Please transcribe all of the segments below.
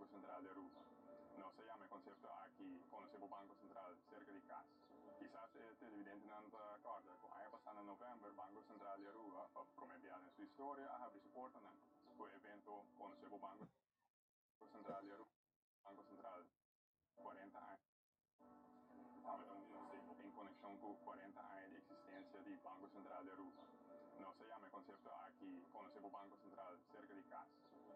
Banco Central di Aruba. Nos a yama e concepto aki Conoce bo Banco Central cerca di cas. Kisas e televidentenan ta corda cu aña pasa na november Banco Central di Aruba pa prome bia den su historia a habri su portanan cu e evento Conoce bo Banco Central di Aruba. Banco Central 40 aña. Tabata un concepto en conexion cu 40 aña di existencia di Banco Central di Aruba. Nos a yama e concepto aki Conoce bo Banco Central cerca di cas.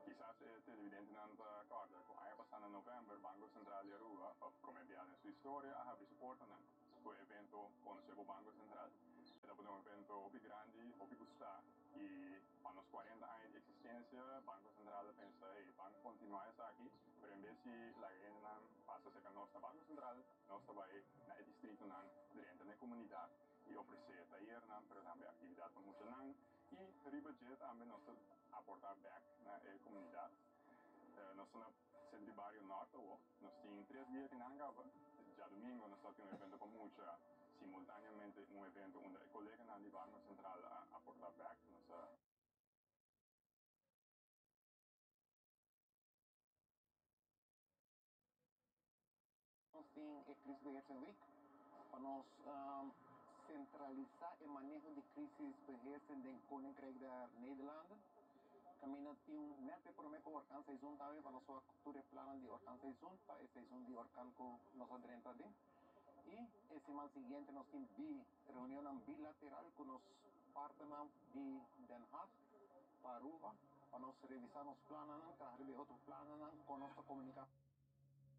Kisas e televidentenan ta corda cu aña pasa na november Banco Central di Aruba pa prome bia den su historia a habri su portanan cu e evento Conoce bo Banco Central. E tabata un evento hopi grandi, hopi gusta y pa nos 40 aña di existencia Banco Central a pensa, hey, ban continua esaki, pero en bes di laga hendenan pasa cerca nos na Banco Central, nos ta bay na e distritonan drenta na e comunidad y ofrece tayernan, pero tambe actividad pa muchanan y riba dje tambe nos ta aporta bek na e comunidad. Nos ta na Centro di Bario Norte awo, nos tin tres dia kinan caba. Djadomingo nos ta tin un evento pa mucha, simultaneamente un evento unda e coleganan di Banco Central a aporta bek. Nos a. Nos tin e Crisisbeheersing Week pa nos centralisa e maneho di crisisbeheersing den Koninkrijk der Nederlanden. Caminda tin un net e prome cu orkan seizoen tambe pa nos wak tur e plannan di orkan seizoen pa e seizoen di orkan cu nos a drenta aden. Y e siman siguiente nos tin bi reunionnan bilateral cu nos partnernan di Den Haag pa Aruba pa nos revisa nos plannan, traha riba e otro plannan con nos ta comunica.